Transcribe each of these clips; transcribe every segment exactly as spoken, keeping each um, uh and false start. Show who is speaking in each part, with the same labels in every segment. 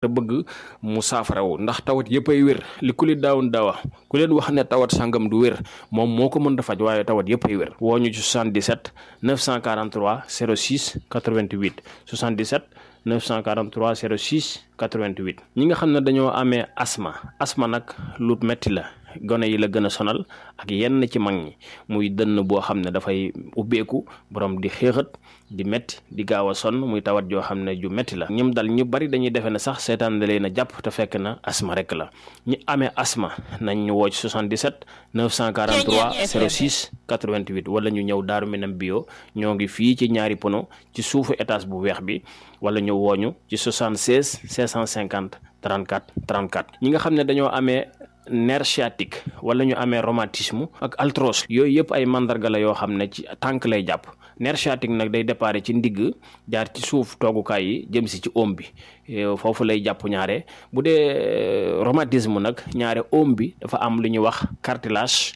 Speaker 1: te bëgg mu saafarawu ndax tawat yëpp ay wér li ku li daawun daawa ku leen wax ne tawat sàngam du wér moom moo ko mën a faj waaye tawat yëpp ay wér woo ñu ci soixante-dix-sept neuf cent quarante-trois zéro six quatre-vingt-huit soixante-dix-sept neuf cent quarante-trois zéro six quatre-vingt-huit ñi nga xam ne dañoo amee asma asma nag lu metti la gone yi la gën a sonal ak yenn ci mag ñi muy dënn boo xam ne dafay ubbeeku borom di xéexat di metti di gaaw a sonn muy tawat joo xam ne ju metti la ñim dal ñu bari dañuy defe ne sax seetaan da leen a jàpp te fekk na asma rek la ñi amee asma nañ ñu woo ci soixante-dix-sept neuf cent quarante-trois zéro six quatre-vingt-huit wala ñu ñëw Daaru Minam bio ñoo ngi fii ci ñaari pono ci suufu étage bu weex bi wala ñu wooñu ci soixante-seize cinq cent cinquante trente-quatre trente-quatre ñi nga xam ne dañoo amee nerf sciatique wala ñu amee rhumatisme ak arthrose yooyu yëpp ay mandarga la yoo xam ne ci tànk lay jàpp nerf sciatique nag day déparé ci ndigg jaar ci suuf toogukaay yi jëm si ci oom bi foofu lay jàpp ñaare bu dee rhumatisme nag ñaare oom bi dafa am lu ñuy wax cartilage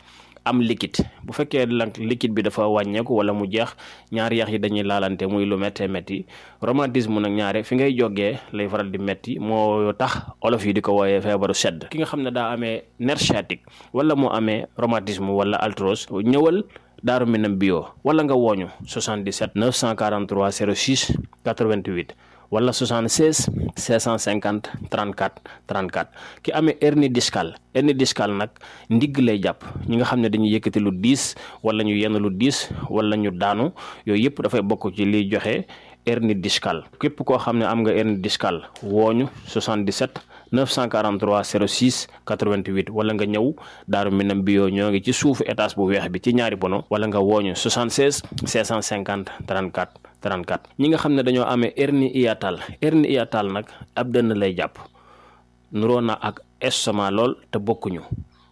Speaker 1: am liquide bu fekkee lank liquide bi dafa wàññeeku wala mu jeex ñaari yax yi dañuy laalante muy lu méttee métti rhumatisme nag ñaare fi ngay jógee lay faral di métti moo tax olof yi di ko wooyee feebaru sedd ki nga xam ne daa amee nerf sciatique wala mu amee rhumatisme wala arthrose ñëwal Daaru Minam bio wala nga wooñu soixante-dix-sept neuf cent quarante-trois zéro six quatre-vingt-huit wala soixante-seize cinq cent cinquante trente-quatre trente-quatre ki amee hernie discale hernie discale nag ndigg lay jàpp ñi nga xam ne dañuy yëkkati lu diis wala ñu yenn lu diis wala ñu daanu yooyu yëpp dafay bokk ci liy joxe hernie discale képp koo xam ne am nga hernie discale wooñu soixante-dix-sept neuf cent quarante-trois zéro six quatre-vingt-huit wala nga ñëw Daaru Minam bio ñoo ngi ci suufu étage bu weex bi ci ñaari pono wala nga wooñu soixante-seize cinq cent cinquante trente-quatre trente-quatre ñi nga xam ne dañoo amee hernie hiatale hernie hiatale nag ab dënn lay jàpp nuroo na ak estomac lool te bokkuñu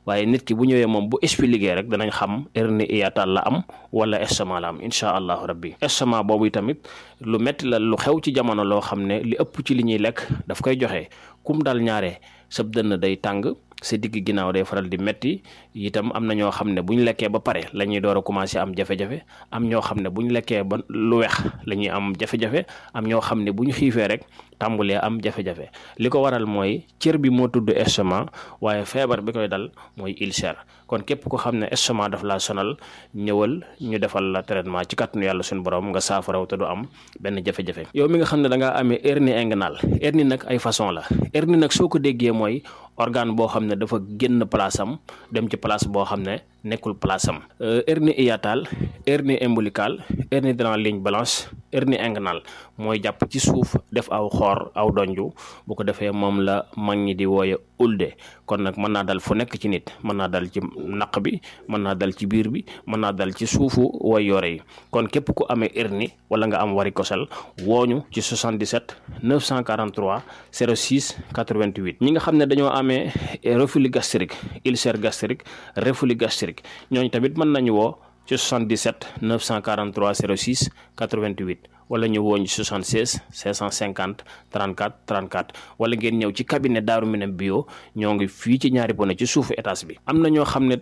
Speaker 1: waaye nit ki bu ñëwee moom bu expliqué rek danañ xam hernie hiatale la am wala estomac la am incha allahu rabbi estomac boobu tamit lu metti la lu xew ci jamono loo xam ne li ëpp ci li ñuy lekk daf koy joxe kum dal ñaare sab dënn day tàng sa digg ginnaaw day faral di metti itam am na ñoo xam ne bu ñu lekkee ba pare la ñuy door a commencé am jafe-jafe am ñoo xam ne bu ñu lekkee ba lu weex la ñuy am jafe-jafe am ñoo xam ne bu ñu xiifee rek tàmbulee am jafe-jafe li ko waral mooy cër bi moo tudd estomac waaye feebar bi koy dal mooy ulcère kon képp ko xam ne estomac daf laa sonal ñëwal ñu defal la traitement ci kàttanu yàlla suñu borom nga saafaraw te du am benn jafe-jafe yow mi nga xam ne da ngaa amee hernie inguinale hernie nag ay façon la hernie nag soo ko déggee mooy organe boo xam ne dafa génn place am dem ci place boo xam ne nekkul place am hernie hiatale hernie ombilicale hernie dans la ligne blanche hernie inguinale mooy jàpp ci suuf def aw xoor aw donju bu ko defee moom la mag ñi di wooye ulde kon nag mën naa dal fu nekk ci nit mën naa dal ci naq bi mën naa dal ci biir bi mën naa dal ci suufu way yore yi kon képp ku amee hernie wala nga am varicocèle wooñu ci soixante-dix-sept neuf cent quarante-trois zéro six quatre-vingt-huit ñi nga xam ne dañoo amee reflux gastrique ulcère gastrique reflux gastrique ñooñu tamit mën nañu woo ci soixante-dix-sept neuf cent quarante-trois zéro six quatre-vingt-huit wala ñu wooñ soixante-seize cinq cent cinquante trente-quatre trente-quatre wala ngeen ñëw ci cabinet Daaru Minam bio ñoo ngi fii ci ñaari pono ci suufu étage bi am na ñoo xam ne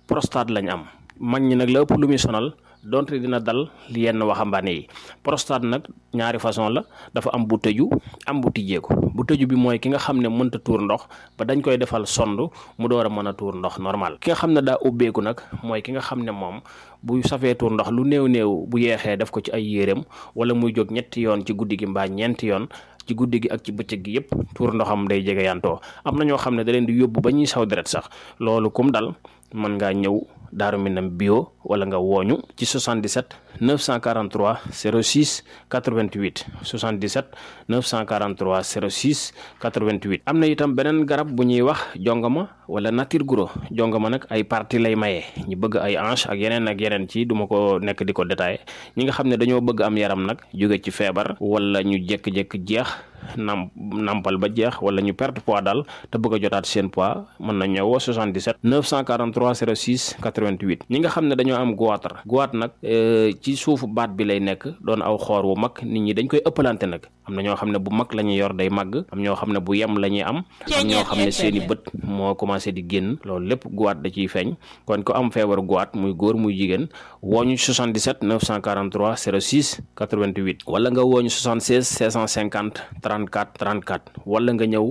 Speaker 1: prostate lañ am mag ñi nag la ëpp lu muy sonal donte dina dal yenn waxambaane yi prostate nag ñaari façon la dafa am bu tëju am bu tijjeeku bu tëju bi mooy ki nga xam ne mënta tuur ndox ba dañ koy defal sond mu door a mën a tuur ndox normal ki nga xam ne daa ubbeeku nag mooy ki nga xam ne moom bu safee tuur ndox lu néew néew bu yeexee def ko ci ay yéreem wala muy jóg ñetti yoon ci guddi gi mbaa ñeenti yoon ci guddi gi ak ci bëccëg gi yëpp tuur ndoxam day jege yantoo am na ñoo xam ne da leen di yóbbu ba ñuy saw deret sax loolu kum dal mën ngaa ñëw Daaru Minam bio wala nga wooñu ci soixante-dix-sept neuf cent quarante-trois zéro six quatre-vingt-huit soixante-dix-sept neuf cent quarante-trois zéro six quatre-vingt-huit am na itam beneen garab bu ñuy wax jongama wala nature guro jongama nag ay partie lay maye ñi bëgg ay hanche ak yeneen ak yeneen ci duma ko nekk di ko détaillé ñi nga xam ne dañoo bëgg am yaram nag jóge ci feebar wala ñu jékki-jékki jeex nam nampal ba jeex wala ñu perte poids daal te bëgg a jotaat seen poids mën na ñëwoo soixante-dix-sept neuf cent quarante-trois zéro six quatre-vingt-huit quatre-vingt-huit ñi nga xam ne dañoo am goitre goitre nag ci suufu baat bi lay nekk doon aw xoor wu mag nit ñi dañ koy ëppalante nag am na ñoo xam ne bu mag la ñuy yor day màgg am ñoo xam ne bu yem la ñuy am am ñoo xam ne seeni bët moo commencé di génn loolu lépp goitre da ciy feeñ kon ko am feebaru goitre muy góor muy jigéen wooñu soixante-dix-sept neuf cent quarante-trois zéro six quatre-vingt-huit wala nga wooñu soixante-seize six cent cinquante trente-quatre trente-quatre wala nga ñëw